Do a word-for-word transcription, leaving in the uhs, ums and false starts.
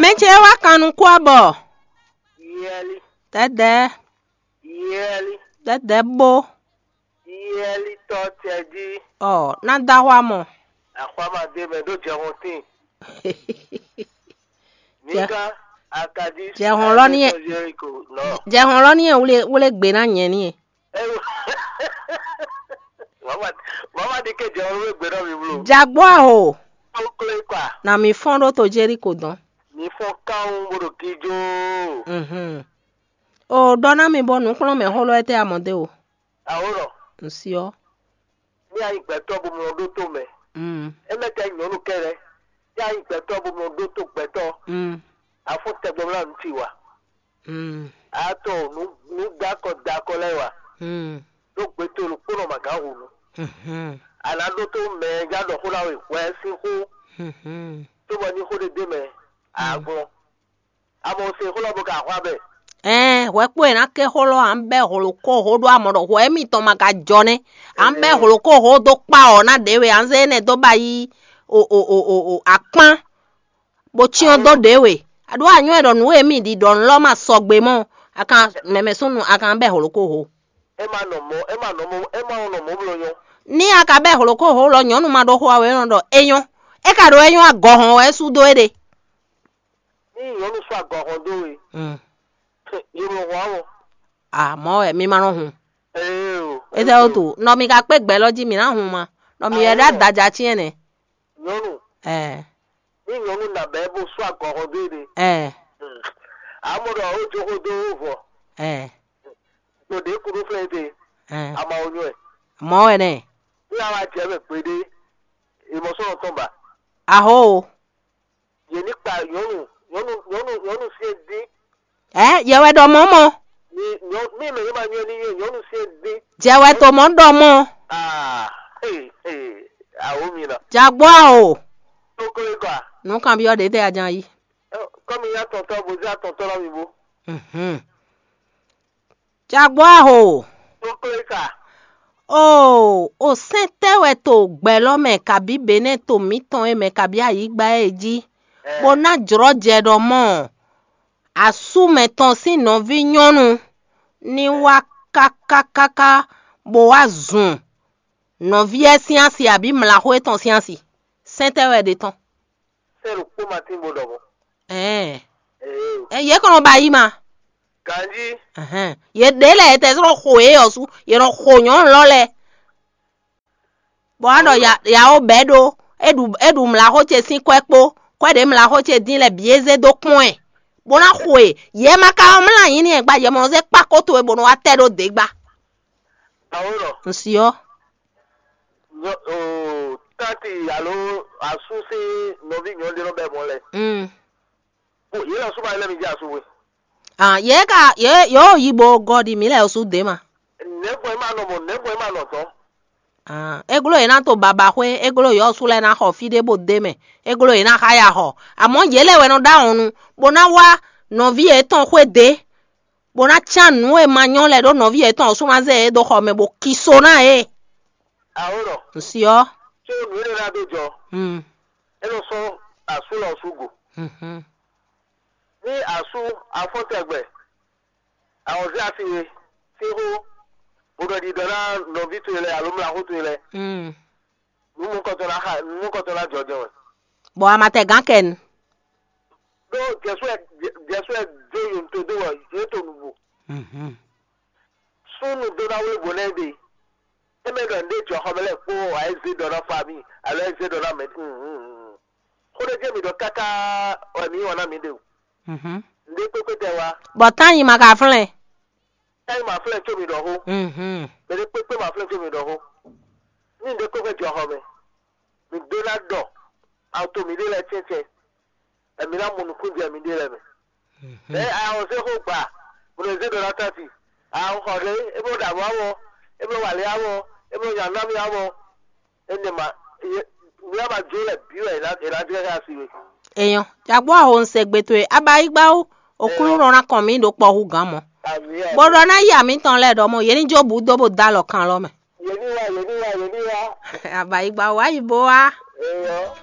Mɛ ce wá kan nukún abɔ. Yɛli, Dɛdɛ, yɛli, dɛdɛ bó. Yɛli tɔ tɛ jí. Ɔ, ná dá xwá mɔ. Axwama dé mɛ ɖó jɛhɔn tín. Nígá, akadí, Jɛhɔn lɔ ní ɛ. Jeriko, nɔ. Jɛhɔn lɔ ní ɛ wle wle gbe ná nyɛ ní ɛ. Eyo. Mama, mama di ke jɛhɔn wle gbe nɔ mi blo. Jagbɔ aho. Tokle kwa. Na mi fɔn ɖó to Jeriko dɔn. Mi fɔn kawun bó ɖo gíjó. Mhm. O ɖɔ ná mi bɔ nǔkplɔ́nmɛ xó lɔ etɛ́ amɔ dé o. Awo nɔ. Nsiɔ. Ní a nyí gbɛtɔ́ bo mlɔ ɖó to mɛ. Mm. Émɛ́ ka nyí nyɔ̌nu kɛ́ɖɛ́. Ní a nyí gbɛtɔ́ bo mlɔ ɖó to gbɛtɔ́. Mm. Afɔ tɛgbɛ mlá nǔ ci wa. Mm. A to nǔ nǔ dakɔ dakɔ lɛ́ɛ wa. Mm. Ɖó gbɛtɔ́ ɖokpónɔ ma gǎn hǔnu. Mhm. A nǎ ɖótó mɛ e já ɖɔ xó ná we hwɛ sín xó. Mhm. Cóbɔ ní xó ɖé ɖ'é mɛ, a Mm. glɔ́n. A mɔ se xó lɔ bo ka xwá bɛ. Ɛɛ, hwɛ kpó e ná ké xó lɔ, à ń bɛ́ hlǒkóhó ɖó amɔ ɖɔ hwɛ mitɔn ma ka jɔ nɛ́. À ń bɛ́ Ɛɛ. Hlǒkóhó dó kpá ɔ́ ná ɖě we, à ń zé énɛ́ dó ba yí o o o o o akpán, bó cyɔ́n dó ɖě we. A ɖó anyɔ ɛ ɖɔ nǔ e mì ɖi ɖɔ nǔ lɔ ma sɔgbe mɔ, a kan mɛmɛ súnnu a kan bɛ́ hlǒkóhó. É ma nɔ mɔ, é ma nɔ mɔ, é ma nɔ mɔ bló nyɔ. Ní a ka bɛ́ hlǒkóhó lɔ nyɔ̌nu ma ɖó xó a wɛ é nɔ ɖɔ é nyɔ́. É ka ɖo é nyɔ́ agɔhɔn wɛ é sú dó é ɖe. Ní nyɔ̌nu sɔ́ agɔhɔn dó we. Mm. Yě mɔ hɔn áwɔ. Ah, mɔ̌ wɛ mi ma nɔ hun. Ee o. Étɛ́ wútu? Nɔ mi ka kpé gbɛ lɔ jí mi ná hun ma. Nɔ mi wɛ ɖó adaja cyɛn nɛ. Nyɔ̌nu. Ɛɛ. Ní nyɔ̌nu nabɛ bó sɔ́ agɔhɔn dó e ɖe. Ɛɛ. Amɔ ɖɔ ó jó xó dó vɔ. Ɛɛ. Gbòdè kúɖú fɛn te. Ɛɛ. Ama onyɔ ɛ. Mɔ̌ wɛ nɛ. Ní a wá jɛ mɛ gbeɖé. Ìmọ̀sọ́nà tán ba. Aho. Yě ní kpa nyɔ̌nu nyɔ̌nu nyɔ̌nu nyɔ̌nu syɛ́n dín. Ɛ, yɛ wɛ ɖɔ mɔ̌ mɔ. Ní nyɔ mí mɛ yé ma nyɔ ní yé nyɔ̌nu syɛ́n dín. Jɛ wɛ to mɔ̌ ɖɔ mɔ. Aa ee ee awo mi na. Jagbɔ o. Tó kó é kɔ a. Nǔ kan byɔ́ ɖě tɛ a jan yí. Kɔmi ya tɔntɔ bo ja tɔntɔ la mi bo. Mhm. Jagbɔ aho. Tó kó é ka. Oo, o sɛn tɛ wɛ to gbɛ lɔ mɛ kabí benɛ to mǐtɔn e mɛ kabí ayǐgba e jí, bó ná jlɔ́ jɛ ɖɔ mɔ asú mɛtɔn sín nɔví nyɔ́nu ní wá káká káká bó wá zun nɔví ɛ sín asi abǐ mlaxó étɔn sín asi. Sɛn tɛ wɛ ɖe tɔn. Sɛ́ ɖokpó ma tín bó ɖɔ mɔ̌. Ɛɛ. Ee. Ɛ, yě kɔn nɔ ba yí ma. Ganjí. Ɛhɛn. Yě ɖě lɛ́ɛ yě tɛ sɔ́ xo yě ɔ́ sú, yě nɔ xo nyɔ̌nu lɔ lɛ́ɛ. Bɔ á ɖɔ ya- yawo bɛ̌ ɖó, é ɖu é ɖu mlaxó ce sín kwɛ́ kpó, kwɛ́ ɖě mlaxó ce dín lɛ́ɛ bǐ é zé dó kpɔ́n ɛ, bó ná xo ɛ. Yě ma ka ɔ́ mlá nyǐ n'i ɛ gba, yě mɔ zé kpá kó towe bó nɔ wá tɛ ɖó dě gba. Awo nɔ. Nsi ɔ́. Nyɔ oo tati alo asú sín nɔví nyɔ̌nu ɖé nɔ bɛ mɔ lɛ. Mm. Bo yě lɔ súnmọ́ lɛ́ mi jẹ́ asú we. Ah, yě ka yě yǒ yi bo gɔ ɖi mǐ lɛ sú dě ma. Nɛ̌gbɔn é ma nɔ mɔ nɛ̌gbɔn é ma nɔ tɔn. Ah, é gló yě ná to baba xwé, é gló yɔ́ sú lɛ́ɛ ná xɔ fí ɖé bó dé mɛ, é gló yě ná xá ya xɔ. Amɔ̌ yě lɛ́ wɛ nɔ ɖó awɔnnu, bó ná wá nɔví yětɔn xwé dě, bó ná cán nǔ e ma nyɔ́ lɛ́ɛ ɖó nɔví yětɔn ɔ́ sú ná zé yě dó xɔ mɛ bó ki so ná yě. Awo nɔ. Nsi ɔ́. Tí ó nǔ énɛ́ ná dó jɔ. Hmm. É nɔ sɔ́ asú lɔ sú go. Mhm. Ní asú afɔ́ntɛgbɛ, àwọn zé asi we sín xó, bó ɖɔ ɖiɖɔ ná nɔví towe lɛ́ɛ alo mlaxó towe lɛ́ɛ. Mm. Nǔ mɔkɔtɔn ná xa nǔ mɔkɔtɔn ná jɔ jɛ wɛ. Bɔ a ma tɛ gán kɛ nu. Ɖó Jɛsu wɛ Jɛsu wɛ dó yǒnto dó wɔ yě to nǔgbó. Mhm. Súnnu dó ná wlé bǒ ná ɛ ɖe. É mɛ ɖɔ nǔɖé jɔ xɔ mɛ lɛ́ɛ kpó wǎ é zé ɖɔ ná fa mì alo é zé ɖɔ ná mɛ. Xó ɖé jɛ mi ɖɔ káká wɛ mǐ wɔn ná mǐ ɖe o. Mhm. Nǔɖé kpékpé tɛ wá. Bɔ tán yi ma ka flɛ́n. Tán yi ma flɛ́n có mi ɖɔ xó. Mhm. Mɛ ɖé kpékpé ma flɛ́n có mi ɖɔ xó. Ní nǔɖé kpékpé jɔ xɔ mɛ, mǐ ɖó ná ɖɔ ato mǐɖée lɛ́ɛ tɛ́ntɛ́n, bɔ mǐ ná mɔ nukúnjɛ mǐɖée lɛ́ɛ mɛ. Mhm. Ɛ a ɔ zé xó gba, bó nɔ zé ɖɔ ná tánti. A ɔ xɔ ɖé, é bló ɖo amɔ̌ amɔ, é bló wǎlé amɔ, é bló nya nú amì amɔ. Énɛ́ ma, mǐ wá ma jó lɛ́ɛ bǐ wɛ è nǎ è nǎ jlɛ́ xá asi we. Èèyàn, jagbó ahò ń sɛ gbe towe, abayígbáwú, òkúlú nɔ ná kɔn mǐ ɖo kpɔ́ hú gǎn mɔ. Àmì Bó ɖɔ ná yi amǐtɔn lɛ́ɛ ɖɔ mɔ, yě ní jó bǔ dó bó dó alɔ kan lɔ mɛ. Yě ní wá, yě ní wá, yě ní wá. Abayígbáwú, wá yi bó wá. Eyɔ.